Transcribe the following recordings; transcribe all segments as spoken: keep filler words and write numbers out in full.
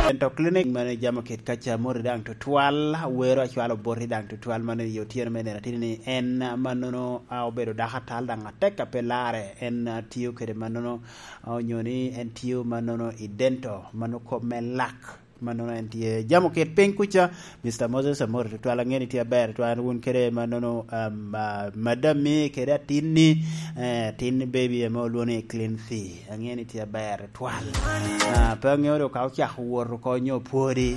Dental Clinic, mano i Jamo Kit kaca, moti daŋ tutwal, wero acwalo boti daŋ tutwal, mano i otyeno me nino atini ni en, a, mannono, a, obedo dako atal daŋ atek a pe larre, en, a, tio kede mannono, a, onyo ni en tio mannono i dento, mano kop me lak, mannono en tye Jamo Kit piny kuca. Mister Moses, amoti tutwal, aŋeo ni tye aber tutwal, wun kede mannono, um, a, madam-mi kede atinni, eh, atin baby ame olwoŋo ni Clean Thee. Aŋeo ni tye aber twal. Ah, pe aŋeo dok ka ocako wot oko nyo pwodi.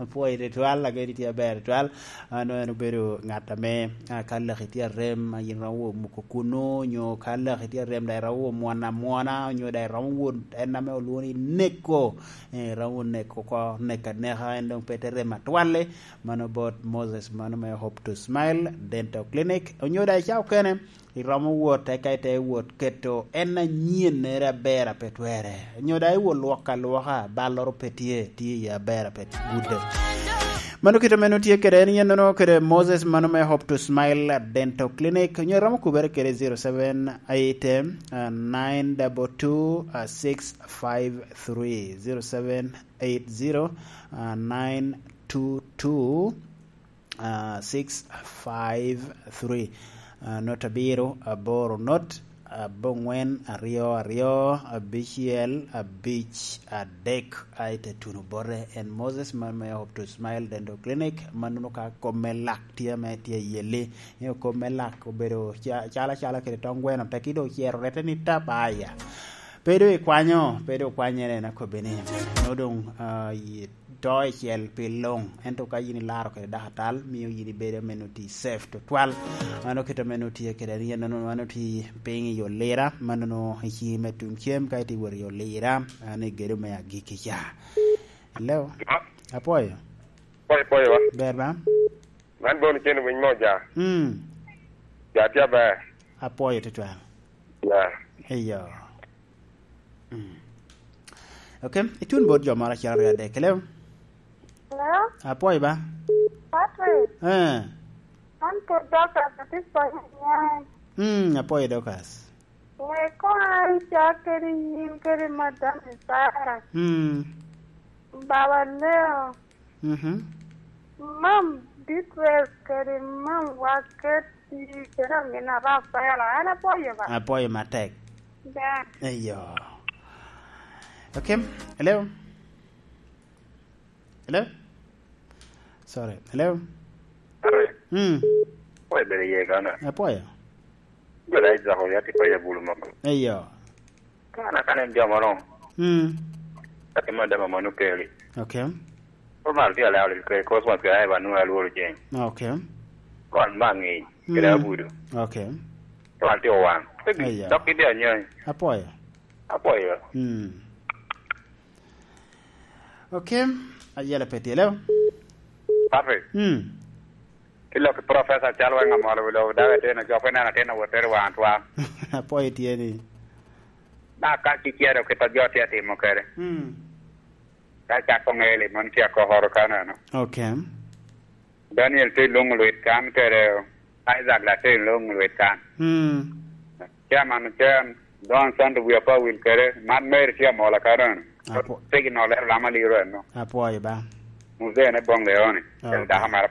Apwoyo twal, aŋeo ni tye aber twal. Ano en obedo ŋat ame, ah, ka laki tye arem, a yin romo wot muko kunu, nyo ka laki tye arem, daŋ iromo wot mwana mwana, nyo daŋ iromo wot en ame olwoŋo ni neko. Eh, iromo neko oko, neko aneka, en doŋ pe te rem atwal-li. Mano bot Moses, mano me Hope to Smile Dental Clinic. Onyo daŋ i cawa okene, iromo wot, eka ite wot keto en anyennere aber a pe twerre. Nyo daŋ iwot lwok alwoka, balloro pe tye, tye iye aber a pe gudde. Mano kit ame nwoŋo tye kede en, yen nono kede Moses, mano me Hope to Smile Dental Clinic. Nyo iromo kubere kede zero seven eight, uh, nine double two, uh, six five three, zero seven eight zero, uh, nine two two, ah, six five three. Ah, not abiro, aboro not, aboŋwen, aryo aryo, abicel, abic adek. Ai te tuno bote en Moses, man me Hope to Smile Dental Clinic, man nwoŋo ka kop me lak tye ame tye i yelli. Nyo kop me lak obedo ca-, calo acala kede tong gweno, tekki doŋ ocero rette ni tap, aya. Pe doŋ ikwanyo, pe doŋ okwanyere, en akobbi ni, nwoŋo doŋ, ah, yi-, to icel pi luŋ, ento ka yin ilaro kede dako atal, mio yin ibedo ame nwoŋo tye safe tutwal. Mano kit ame nwoŋo tye kede, yen nwoŋo mano tye piny i olira, mannono i ciŋi me tuŋ cem, ka itye wot i olira, an i gedo me agikki ca. Hello? Apwoyo. Pwoyo, pwoyo wa. Ber ba? Man Bon Ocello, winy mo ja. Mm. Ja tye aber. Apwoyo tutwal. Ya. Eyo. Mm. Ok, itun bot jo moro acel aryo adek. Hello? Hello? Apwoyo ba? Patrick. Eh. An pwod Dorcas, atye Panya Nyan. Mm, apwoyo Dorcas. Wek koŋ an cak kede yin kede madam Sara. Mm. Baba Leo. Mhm. Mam details kede mam waket i kede amin Rafaela. An apwoyo ba. Apwoyo matek. Da. Eyo. Ok. Hello? Hello? Sorry. Hello? Are. Mm. Apwoyo bene ye kana. Apwoyo. Bene Isaac oyati pa ya bulu moko. Eyo. Kana kana en jamo no. Mm. Kati ma dama manu keli. Ok. Ko mal ti ala ala ke ko swa ke ai ba nu alu jeng. Ok. Ko an mangi. Kede abudu. Ok. Ko an ti owang. Eyo. Dok ki dia nyai. Apwoyo. Apwoyo. Mm. Ok. Ayela pe tye, hello? Papi. Mm. Ilok i professor cal weng amolo wi lobo, dawe tino, jo pe neno atino wot tere wan twa. Apwoyo tye ni. Na ka ci cero kit a jo tye atimo kede. Mm. Ka cako ŋeli, mon tye akokoro kaneno. Ok. Daniel tye i luŋ lwit kan kede Isaac la tye i luŋ lwit kan. Mm. Chairman Ocan, Don Sando, wi apa wil kede, man Mary tye amola kaneno. Apo- Signal ero lama liro eno. Apwoyo ba. Muzee ne boŋ leoni. Ok. Dako mara.